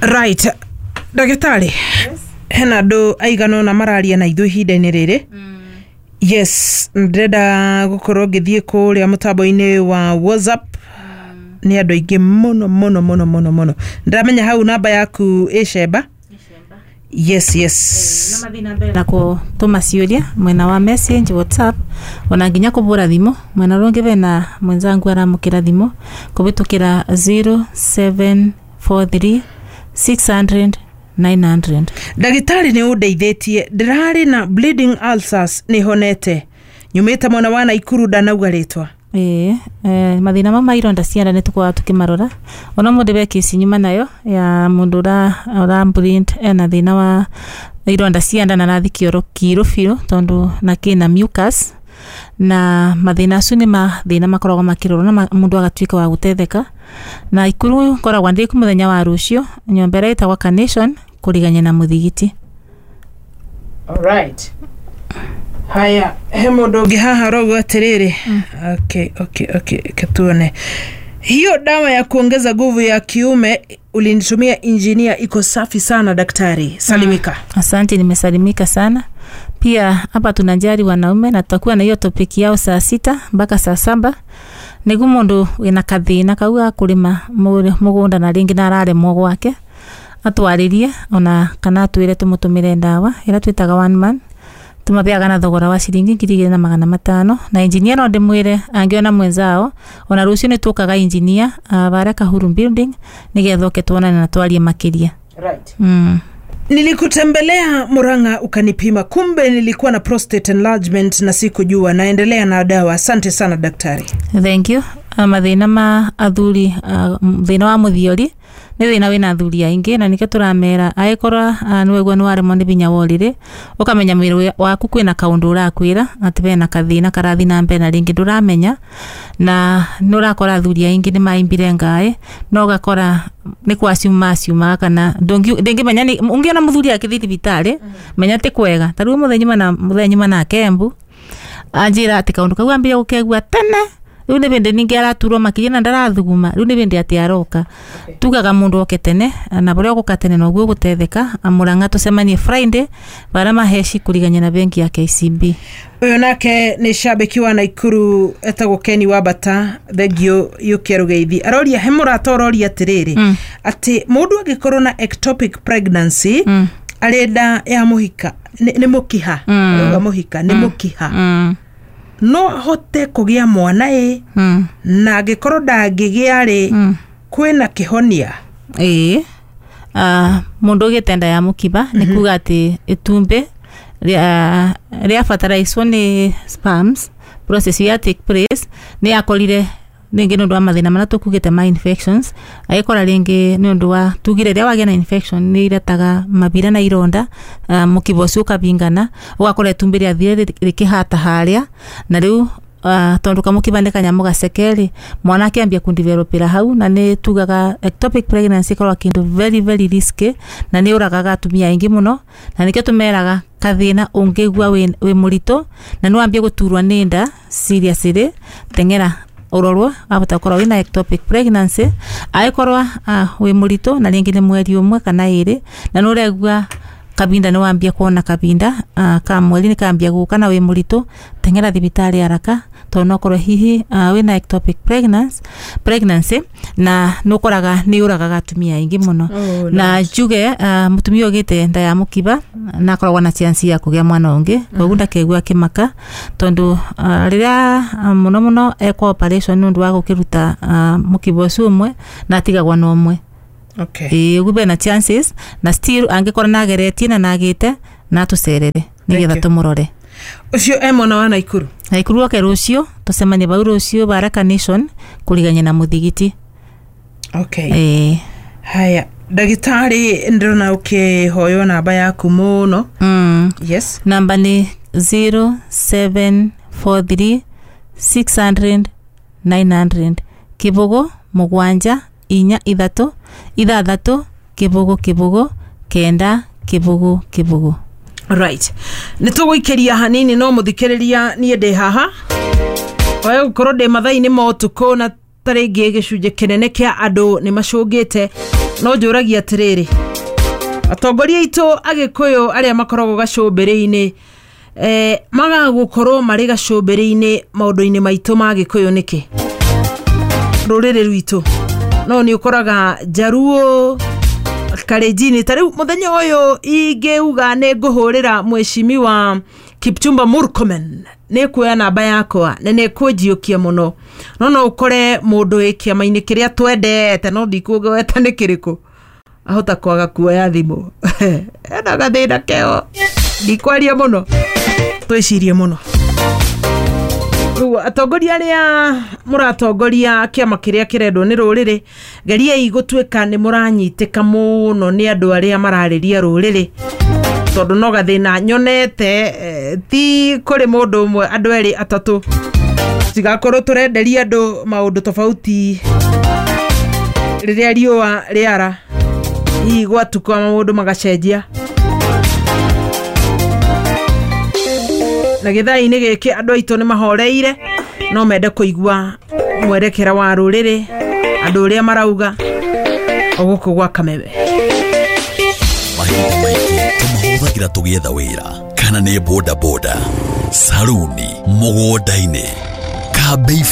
Right, ndagĩtarĩ. Yes. Hena andũ aigana ũna mararia na ithuĩ ihinda-inĩ rĩrĩ. Yes, ndĩrenda gũkorwo ngĩthiĩ kũrĩa mũtambo-inĩ wa WhatsApp. Nĩ andũ aingĩ mũno mũno mũno mũno mũno. Ndĩramenya hau namba yaku ĩ cemba. Yes. Na kũtũma ciũria mwena wa message WhatsApp, ona nginya kũbũra thimũ mwena ũrĩa ũngĩ, bena mwenzangu aramũkĩra thimũ kũbĩtũkĩra 0743 600 900. Ndagĩtarĩ, nĩ ũndeithĩtie, ndĩrarĩ na bleeding ulcers, nĩ honete, nyumĩte mwena wa Naikuru, ndanauga rĩtwa. Ĩĩ, mathĩna mau ma ironda cia nda nĩ tũkoragwo tũkĩmarora. Ona mũndũ be kesi nyuma nayo ya mũndũ ũra bleed, ena thĩna wa ironda cia nda na arathi kĩoro kĩirũ biũ tondũ na kĩna mucus, na mathĩna acio nĩ mathĩna makoragwo makĩrorwo na mũndũ agatuĩka wa gũtetheka. Na Ikuru ngoragwo ndĩ mũthenya wa rũciũ, nyũmba ĩrĩa ĩtagwo Carnation kũrigania na mũthigiti. Alright. Haya, he mũndũ ũngĩ haha arauga atĩrĩrĩ, okay, okay, tuone hiyo dawa ya kuongeza nguvu ya kiume ulinitumia, engineer, iko safi sana daktari, salimika. Asante, nimesalimika sana. Pia hapa tunajali wanaume na tutakuwa na hiyo topic yao saa 6 mpaka saa 7, nĩguo mũndũ wĩna kathĩna kau ga kũrĩma mũgũnda na rĩngĩ na araremwo gwake atwarĩrie ona kana atwĩre tũmũtũmĩre ndawa ĩrĩa twĩtaga One Man. Tũmabeaga na thogora wa ciringi 2500. Na engineer no ndĩmwĩre angĩona mwenzao, ona rũciũ nĩ tũkaga engineer barĩa Kahuru Building nĩgetha oke tuonane na twarie makĩria. Right. Nilikutembelea Murang'a ukanipima, kumbe nilikuwa na prostate enlargement na sikujua, naendelea na dawa. Asante sana daktari. Thank you. Mathĩna ma athuri, thĩna wa mũthiori nĩ thĩna wĩna athuri aingĩ, na nĩkĩo tũramera angĩkorwo nĩwaigua nĩ waremwo nĩ binya wa ũrĩrĩ, ũkamenya mwĩrĩ waku kwĩna kaũndũ ũrakwĩra atĩ bena kathĩna karathiĩ na mbere na rĩngĩ ndũramenya. Na nĩ ũrakora athuri aingĩ nĩ maimbire ngaĩ, no ũgakora nĩ kwaciuma aciumaga kana ndũngĩmenya. Ũngĩona mũthuri akĩthiĩ thibitarĩ, menya ti kwega. Ta rĩu mũthenya nyuma nake Embu, anjĩra atĩ kaũndũ kau ambia gũkegua tene, rĩu nĩ bĩndĩ ningĩ araturwo makĩria na ndarathuguma, rĩu nĩ bĩndĩ atĩ aroka. Tugaga mũndũ oke tene, na bũrĩa ũgũka tene noguo ũgũtetheka. Mũrang'a tũcemanie Friday barĩa maheci kũrigania na bengi ya KCB. Ũyũ nake nĩ shabiki wa Naikuru etagwo Keni wa Bata, thengio yũkia rũgeithi. Aroria, he mũrata ũroria atĩrĩrĩ, atĩ mũndũ angĩkorwo na ectopic pregnancy arĩ nda ya mũhika, nĩ mũkiha, arauga mũhika nĩ mũkiha, no ahote kũgĩa mwana ĩ? Na angĩkorwo ndangĩgĩa rĩ, kwĩna kĩhonia? Ĩĩ, mũndũ ũgĩte nda ya mũkiba nĩ kuga atĩ itumbĩ rĩa fertilizwo nĩ sperms, process ya take place nĩ yakorire rĩngĩ nĩ ũndũ wa mathĩna marĩa tũkugĩte ma infections, agĩkora rĩngĩ nĩ ũndũ wa tugire rĩrĩa wagĩa na infection nĩ iretaga mabira na ironda, mũkiba ũcio ũkabingana, ũgakora itumbĩ rĩathire rĩkĩhata harĩa. Na rĩu tondũ kamũkiba nĩ kanyamũ gaceke rĩ, mwana akĩambia kũdevelopera hau. Na nĩ tugaga ectopic pregnancy ĩkoragwo kĩndũ very very risky na nĩ ũragaga atumia aingĩ mũno, na nĩkĩo tũmeraga kathĩna ũngĩigua wĩ mũritũ na nĩ wambie gũturwo nĩ nda seriously, teng'era ũrorwo, wahota gũkorwo wĩna ectopic pregnancy. Angĩkorwo wĩ mũritũ na rĩngĩ nĩ mweri ũmwe kana ĩrĩ na nĩ ũraigua kabinda nĩ wambia kuona kabinda ka mweri nĩ kambia gũka na wĩ mũritũ, teng'era thibitarĩ haraka tondũ no korwo hihi wĩna ectopic pregnancy na nĩ ũkoraga nĩ ũragaga atumia aingĩ mũno. Oh, na njuge mũtumia ũgĩte nda ya mũkiba na akoragwo na chance ya kũgĩa mwana ũngĩ, koguo ndakegua akĩmaka tondũ rĩrĩa mũno mũno ekwo operation nĩ ũndũ wa gũkĩruta mũkiba ũcio ũmwe na atigagwo na ũmwe. Ĩĩ, ũguo bena chances na still angĩkorwo nageretie na nagĩte na atũcerere nĩgetha Thank you. tũmũrore. Ũcio e mwena wa Naikuru. Naikuru oke rũciũ, tũcemanie bau rũciũ Baraka Nation kũrigania na mũthigiti. Okay. Ĩĩ. Haya, ndagĩtarĩ, ndĩrona ũkĩhoywo namba yaku mũno. Yes. Namba nĩ 0743 600 900, 0 7 4 3 6 0 0 9 0 0. Right, nĩ tũgũikĩria hanini, no mũthikĩrĩria, niĩ ndĩ haha oe gũkorwo ndĩ mathaa-inĩ ma ũtukũ na Ta rĩngĩ gĩcunjĩ kĩnene kĩa andũ nĩ macũngĩte, no njũragia atĩrĩrĩ, atongoria aitũ agĩkũyũ arĩa makoragwo gacũmbĩrĩ-inĩ, magagũkorwo marĩ gacũmbĩrĩ-inĩ maũndũ-inĩ maitũ ma gĩkũyũ nĩkĩ rũrĩrĩ rwitũ? No nĩ ũkoraga njaruo karenjini ta rĩu mũthenya ũyũ ingĩuga nĩ ngũhũrĩra mweshimiwa Kipchumba Murkomen, nĩ kuoya namba yakwa na nĩ kũnjiũkia mũno, no no ũkore mũndũ wĩ kĩama-inĩ kĩrĩa twendete, no ndikũgweta nĩ kĩrĩkũ, ahota kwaga kuoya thimũ, ena gathĩna keo. Ndikwaria mũno, twĩcirie mũno. Rĩu atongoria arĩa mũratongoria kĩama kĩrĩa kĩrendwo nĩ rũrĩrĩ, geriai gũtuĩka nĩ mũranyitĩka mũno nĩ andũ arĩa mararĩria rũrĩrĩ, tondũ no gathĩna nyonete, ti kũrĩ mũndũ ũmwe, andũ erĩ atatũ, tigakorwo tũrenderia andũ maũndũ tofauti rĩrĩa riũa rĩara, hihi gwatuka maũndũ magacenjia. Na gĩthaa-inĩ gĩkĩ andũ aitũ nĩ mahoreire, no mende kũigua mwerekera wa rũrĩrĩ, andũ ũrĩa marauga o gũkũ gwa Kameme. Mahinda maingĩ tũmahũthagĩra tũgĩetha wĩra, kana nĩ bodaboda, saruni, mũgũnda-inĩ, kambĩ.